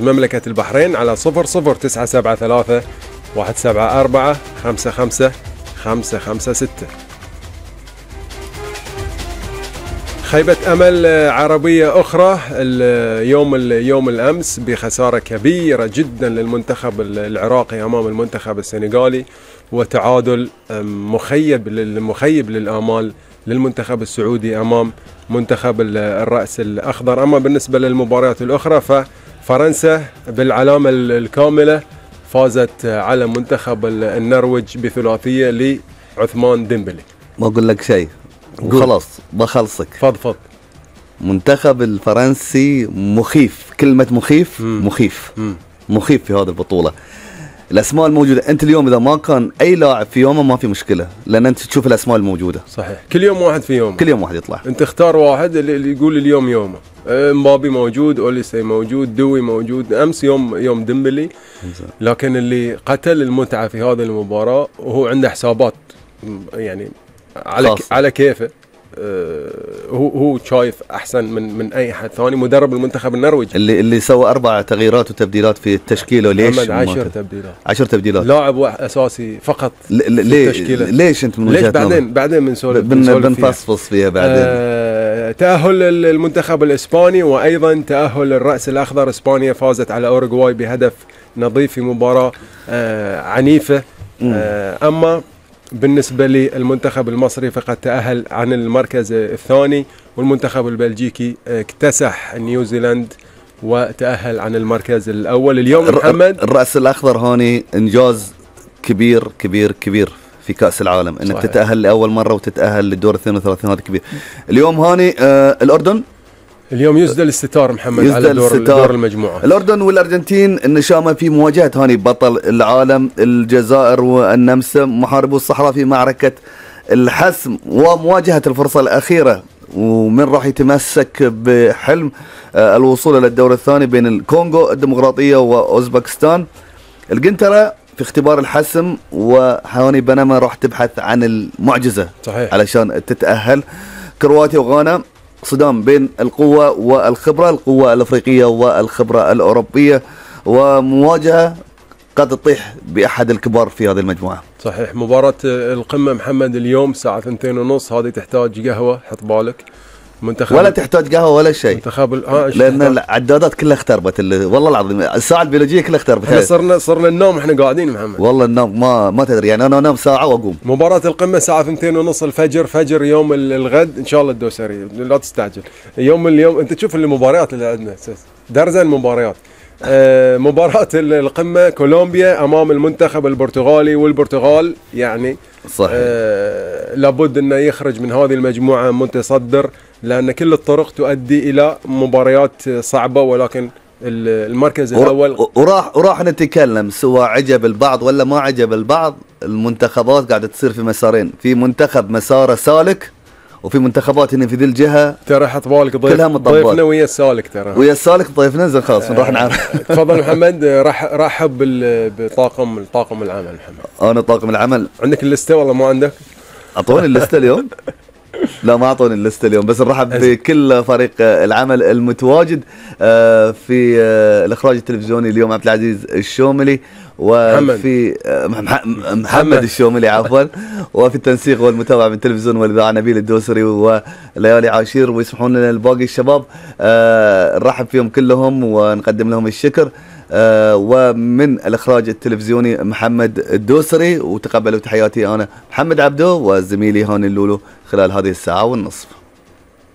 مملكة البحرين على 00973 174 55 556. خيبة أمل عربية أخرى يوم الأمس بخسارة كبيرة جدا للمنتخب العراقي أمام المنتخب السنغالي، وتعادل مخيب للآمال للمنتخب السعودي أمام منتخب الرأس الأخضر. أما بالنسبة للمباريات الأخرى ففرنسا بالعلامة الكاملة فازت على منتخب النرويج بثلاثية لعثمان ديمبلي. ما أقول لك شيء وخلاص بخلصك. فضفض. منتخب الفرنسي مخيف، كلمة مخيف في هذه البطولة. الأسماء الموجودة، أنت اليوم إذا ما كان أي لاعب في يومه ما في مشكلة، لأن أنت تشوف الأسماء الموجودة. صحيح، كل يوم واحد في يوم، كل يوم واحد يطلع، أنت اختار واحد اللي يقول اليوم يومه. مبابي موجود، أوليسي موجود، دوي موجود، أمس يوم ديمبلي. لكن اللي قتل المتعة في هذه المباراة وهو عنده حسابات يعني على كيفه. هو شايف احسن من اي حد ثاني. مدرب المنتخب النرويج اللي سوى 4 تغييرات وتبديلات في التشكيله. ليش 10 تبديلات؟ لاعب اساسي فقط في التشكيله. ليش انت من وجهة نظرك؟ بعدين بنفصفص فيها بعدين. تأهل المنتخب الاسباني، وايضا تأهل الرأس الاخضر. اسبانيا فازت على اوروغواي بهدف نظيف في مباراة عنيفة. اما بالنسبة للمنتخب المصري فقد تأهل عن المركز الثاني، والمنتخب البلجيكي اكتسح نيوزيلاند وتأهل عن المركز الأول. اليوم محمد الرأس الأخضر هاني إنجاز كبير كبير كبير في كأس العالم، انك تتأهل لأول مرة وتتأهل للدور 32. هذا كبير. اليوم هاني الأردن اليوم يسدل الستار محمد على دور المجموعة. الأردن والأرجنتين النشامة في مواجهة هاني بطل العالم الجزائر والنمسا محاربو الصحراء في معركة الحسم ومواجهة الفرصة الأخيرة، ومن راح يتمسك بحلم الوصول إلى الدور الثاني بين الكونغو الديمقراطية وأوزبكستان. القنطرة في اختبار الحسم، وهاني بنما راح تبحث عن المعجزة. صحيح. علشان تتأهل. كرواتيا وغانا صدام بين القوة والخبرة، القوة الأفريقية والخبرة الأوروبية، ومواجهة قد تطيح بأحد الكبار في هذه المجموعة. صحيح. مباراة القمة محمد اليوم الساعة 2:30. هذه تحتاج قهوة، حط بالك. ولا تحتاج قهوة ولا شيء، لأن العدادات كلها اختربت. والله العظيم الساعة البيولوجية كلها اختربت. صرنا النوم احنا قاعدين محمد. والله النوم ما تدري، يعني أنا أنام ساعة وأقوم. مباراة القمة الساعة 2:30 الفجر، فجر يوم الغد إن شاء الله الدوسري، لا تستعجل. اليوم أنت تشوف المباريات اللي عندنا درزن مباريات. مباراة القمة كولومبيا أمام المنتخب البرتغالي، والبرتغال يعني صحيح. لابد أنه يخرج من هذه المجموعة متصدر، لأن كل الطرق تؤدي إلى مباريات صعبة، ولكن المركز الأول وراح نتكلم سواء عجب البعض ولا ما عجب البعض. المنتخبات قاعدة تصير في مسارين، في منتخب مساره سالك، وفي منتخبات هنا في ذي الجهة ترى حط بالك ضيفنا ويا السالك، ترى ويا السالك ضيفنا زين خلاص نروح نعرف. تفضل محمد. رحب بطاقم العمل محمد. أنا طاقم العمل. عندك الليستة والله ما عندك؟ أعطوني الليستة اليوم. لا ما أعطوني الليستة اليوم، بس نرحب بكل فريق العمل المتواجد في الإخراج التلفزيوني اليوم عبد العزيز الشوملي، وفي محمد الشوملي عفوا، وفي التنسيق والمتابعة من التلفزيون والإذاعة نبيل الدوسري وليالي عاشير، ويسمحون لنا الباقي الشباب نرحب فيهم كلهم ونقدم لهم الشكر. ومن الإخراج التلفزيوني محمد الدوسري، وتقبلوا تحياتي أنا محمد عبدو وزميلي هاني اللولو خلال هذه الساعة والنصف.